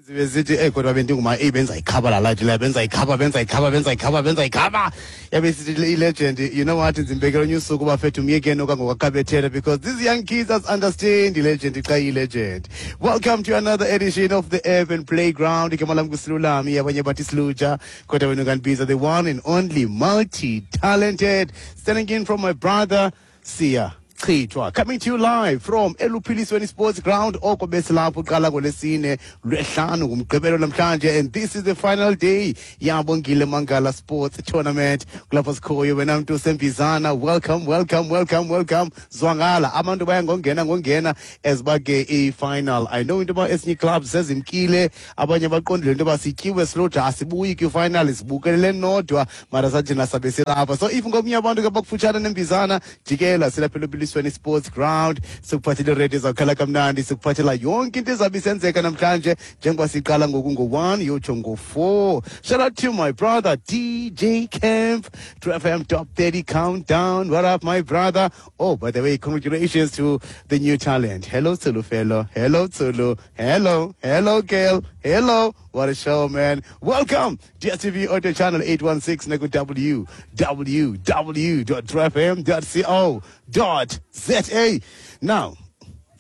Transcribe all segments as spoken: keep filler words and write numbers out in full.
Zibe zithi, "Ey, kodwa bendinguma eyi, benza ikhaba la light la, benza ikhaba, benza ikhaba, benza ikhaba, benza ikhaba." Yabe sithi i-legend, "You know what, ndimbekela onye usuku, bafethu, myekeni okangokakabethela," because these young kids us understand i-legend xa iyi-legend. Welcome to another edition of the Urban Playground. Igama lam nguSilulami, abanye bathi Siluja, kodwa wena ungandibiza the one and only multi-talented, standing in from my brother Siya Chithwa, coming to you live from Eluphilisweni Sports Ground, oko besilapho uqala ngolwesine, lwehlanu, ngumgqibelo namhlanje, and this is the final day yabongile Mangala Sports Tournament. Kulapho sikhoyo. Wena mntu usembizana, welcome, welcome, welcome, welcome. Zwangala abantu baya ngongena ngongena as bake i-final. I know into yoba ezinye clubs sezimkile, abanye baqondile into yoba sityiwe siloja, asibuyi kwi-final, sibukelele nodwa, mara sathina sabe silapha. So if ngomnye abantu ke bakufutshane nembizana, jikela, silapha eLuphilisweni Sports Ground. Sikuphathele iredio zawukhala kamnandi, sikuphathela yonke into ezabe isenzeka namhlanje njengoba siqala ngoku ngo-one yotsho ngo-four. Shout out to my brother D J Camp, True F M Top thirty Countdown. What up, my brother? Oh, by the way, congratulations to the new talent. Hello, Tsulu fellow. Hello, Tsulu. Hello, hello, girl. Hello. What a show, man. Welcome. D S T V Audio Channel eight one six, Nego W W W dot truefm dot co dot za. Now,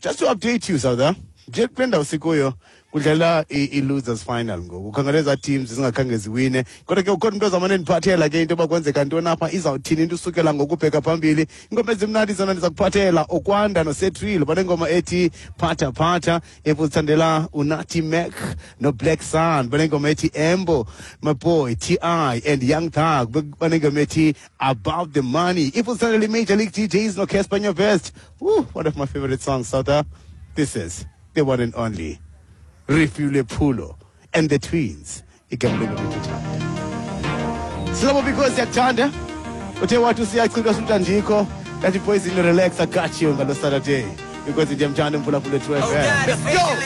just to update you, Sauda, nje kule ndawo sikuyo kudlala i-losers final ngoku. Ukhangela ezaa teams zingakhange ziwine, kodwa ke ukhona umntu ozamane ndiphathela ke into yoba kwenzeka ntoni apha, izawuthini into usukela ngokubheka phambili. Ingoma ezimnandi zona ndiza kuphathela Okwanda noSetrilo, banengoma ethi "Phatha Phatha". If uzithandela uNati Mac noBlack Sun, banengoma ethi "Embo". My boy T I and Young Thug banengoma ethi "About the Money". If uzithandela i-Major League D Js noCasper Nyovest, woo, one of my favorite songs out there, this is the one and only Refule Pulo and the Twins, igama lengoma. Silabo because siyakuthanda. Uthe wathi usiyachithwa sutandikho, ndathi, "Poison, relax, I got you ngalo Saturday," because ndiyamthanda umphulaphula True F M. Let's go.